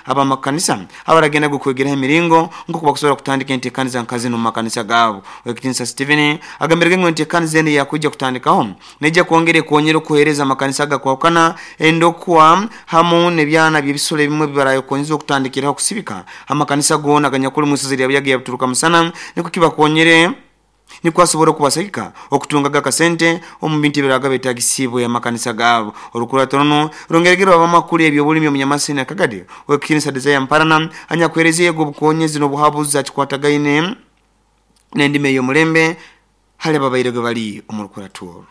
Abamakanisa abaragenda kwegeraho emiringo nk'oku bakusobora kutandika enteekaniza nka zinu mu makanisa gaabo. Owekitinisa Stephen agambirege ngu enteekaniza enu eyakwijja kutandikaho neija kwongera ekonyera okuheereza amakanisa agakwahukana endokwa hamu n'ebyana by'ebisoro ebimwe bibarayekonyeza okutandikiraho kusibika amakanisa goona aganyakuli mu isaza lya Buyaga ya Buturuka Musana, nikwo kibakonyere, nikwo asobora okubasagika okutungaga akasente omu bintu ebiraga betagisiibwe amakanisa gaabo. Orukurato runu rwongeregere abamakuru ebyobulimi omunyamasini akagadi Owekitinisa Desire Mparana anyakuheereza yego obukonyezi n'obuhabuzi akikwatagaine n'endimi ey'omulembe hali ababairege bali omu rukurato oru.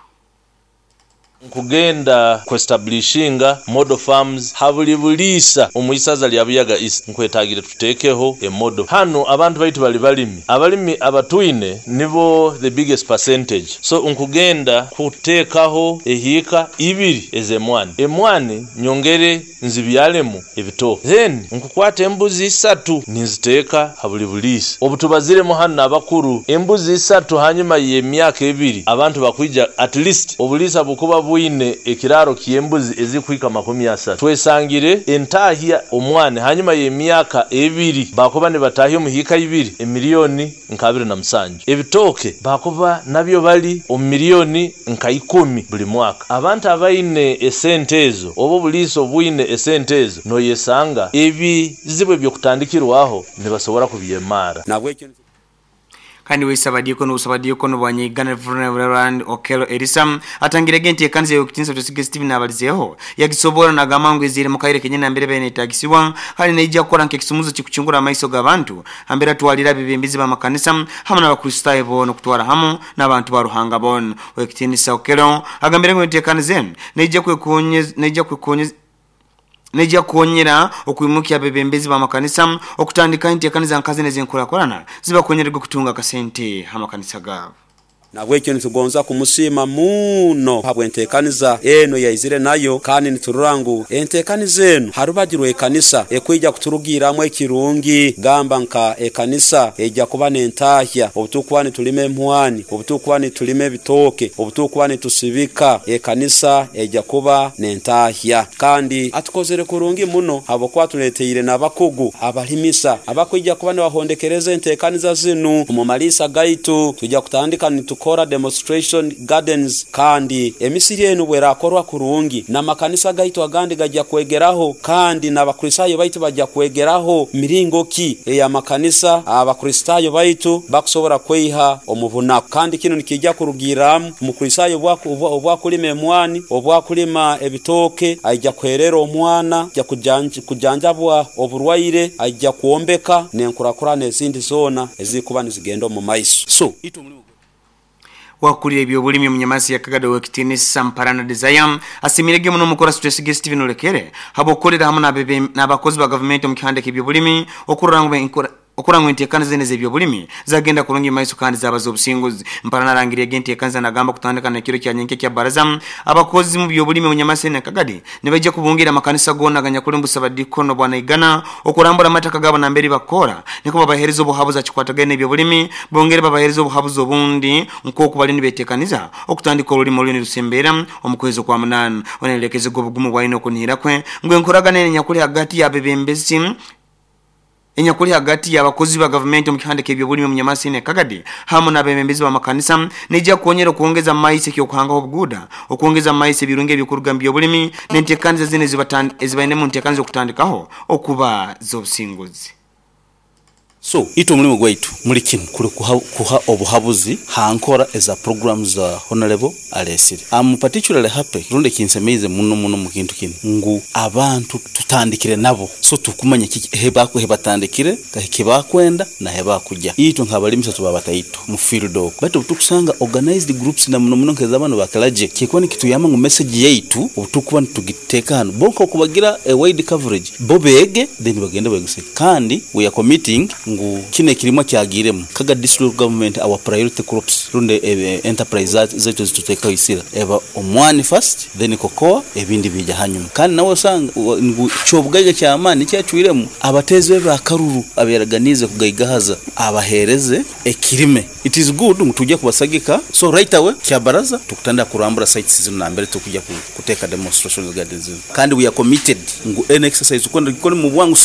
Nkugenda kwestablishinga model farms ha buli buliisa omu isaza lya Buyaga East. Nkwetagire tuteekeho emodo. Hanu abantu baitu bali balimi. Abalimi abatwine nibo the biggest percentage. So nkugenda kuteekaho ehiika ibiri ez'emwani. Emwani nyongere nzibyalemu ebitooke. Then nkukwata embuzi 3 ninziteeka ha buli buliisa. Obutubaziremu hanu n'abakuru, embuzi 3 hanyuma y'emyaka 2 abantu bakwija at least obuliisa bukuba bwine ekiraro ky'embuzi ezikuhika 30. Twesangire entahya omwani hanyuma y'emyaka 2 bakuba nibatahya omuhiika 2 emiliyoni nka 27. Ebitooke bakuba nabyo bali omu miliyoni nka 10 buli mwaka. Abantu abaine esente ezo oba obuliisa obwine esente ezo noyesanga ebizibu ebyokutandikirwaho nibasobora kubyemara. Kandi wesabadikono obusabadikono bwa Nyaigana Reverend Okello Elisa atangirege enteekaniza y'okutinisa Tusige Stephen abalizeeho yagisobora nagamba ngu ezire mu kaire kenyini nambere benetagisibwa, kandi neija kukora nk'ekisumuzo kikuchungura amaiso g'abantu ambere atwalira abebembezi b'amakanisa hamu n'Abakristaayo boona okutwara hamu n'abantu ba Ruhanga boona. Owekitinisa Okello agambire ngu enteekaniza enu neija kukonyera okwimukya abebembezi b'amakanisa okutandika enteekaniza nka zinu ez'enkurakurana zibakonyerege okutunga akasente amakanisa gaabo. Nabwekyo nitugonza kumusiima muno habw'enteekaniza eno yaizire nayo, kandi niturora ngu enteekaniza eno ha rubaju rw'ekanisa ekwija kuturugirramu ekirungi. Gamba nka ekanisa ejja kuba n'entahya obutukuba nitulima emwani, obutukuba nitulima ebitooke, obutukuba nitusibika, ekanisa ejja kuba n'entahya. Kandi atukozere kurungi muno habwokuba atuleteire n'abakugu abalimisa abakwija kuba nibahondekereza enteekaniza zinu. Omu maliisa gaitu tujja kutandika nitukora demonstration gardens, kandi emisiri enu bwerakorwa kurungi n'amakanisa gaitu agandi gajja kwegeraho, kandi n'Abakristaayo baitu bajja kwegeraho miringo ki ey'amakanisa Abakristaayo baitu bakusobora kweiha omu bunaku. Kandi kinu nikijja kurugirramu Omukristaayo obwakulima emwani, obwakulima ebitooke, aija kuherera omwana, aija kujanjabwa oburwaire, aija kwombeka n'enkurakurana ezindi zoona ezikuba nizigenda omu maiso. So itwe omulimo Wakulira ebyobulimi omunyamasi yakagada Owekitinisa Mparana Desire asimirege muno omukora Twesige Stephen Olekere habwokukolera hamu n'abakozi ba gavumenti omu kihanda ky'ebyobulimi okurora ngu enteekaniza zinu ez'ebyobulimi zagenda kurungi maiso kandi zaba z'obusinguzi. Mparana arangiriege enteekaniza nagamba kutandika n'ekiro kya nyenkya kya baraza abakozi mu byobulimi omunyamasi nakagadi nibaija kubungira amakanisa goona aganyakuli mu busabadikono bwa Naigana okurambura amataka gaabo nambere bakora, niko babahereza obuhabuzi akikwatagaine n'ebyobulimi, bongere babahereza obuhabuzi obundi nk'oku bali nibetekaniza okutandika orulimi oruli nirusembeera omu kwezi kwa 8. Onerekeze obugumu bwalina okunihira kwe ngu enkoragana enyakuli hagati y'abebembezi enyakuli hagati y'abakozi ba gavumenti omu kihanda ky'ebyobulimi omunyamasi nekagadi hamu n'abebembezi b'amakanisa neija kukonyera okwongeza amaiso ekyokuhangaho obuguuda, okwongeza amaiso ebirungi ebyokuruga mu byobulimi n'enteekaniza zinu ezibainemu nteekaniza okutandikaho okuba z'obusinguzi. So itwe omulimo gwaitu muli kinu kuli kuha obuhabuzi ha nkora eza programs za Honorable alesire. I'm particularly happy rundi ekinsemeize muno muno mu kintu kinu ngu abantu tutandikire nabo, so tukumanya kiki hebatandikire, hekibakwenda na hebakuja. Itwe nk'abalimisa tuba bataito mu field oko, baitu obutukusanga organized groups na muno muno nk'ez'abantu bakalaje kikuba nikituyamba ngu message yaitu obutukuba nitugiteeka hanu bo nk'okubagira a wide coverage bo beege then bagende beguse. Kandi we are committing ngu kino ekirimwa kyagiremu Kaga district government our priority crops rundi enterprise zaitu ezituteekaho isira eba omwani first then cocoa ebindi bija hanyuma. Kandi nawe osanga ngu kyobugaiga ky'amaani nikyacwiremu abateezi be bakaruru aberaganiize kugaigahaza abaheereze ekirime. It is good ngu tujja kubasagika, so right away kyabaraza tukutandika kurambura sites zinu nambere tukujja kuteeka demonstration gardens zinu. Kandi we are committed ngu any exercise tukwenda tugikole mu bwangu.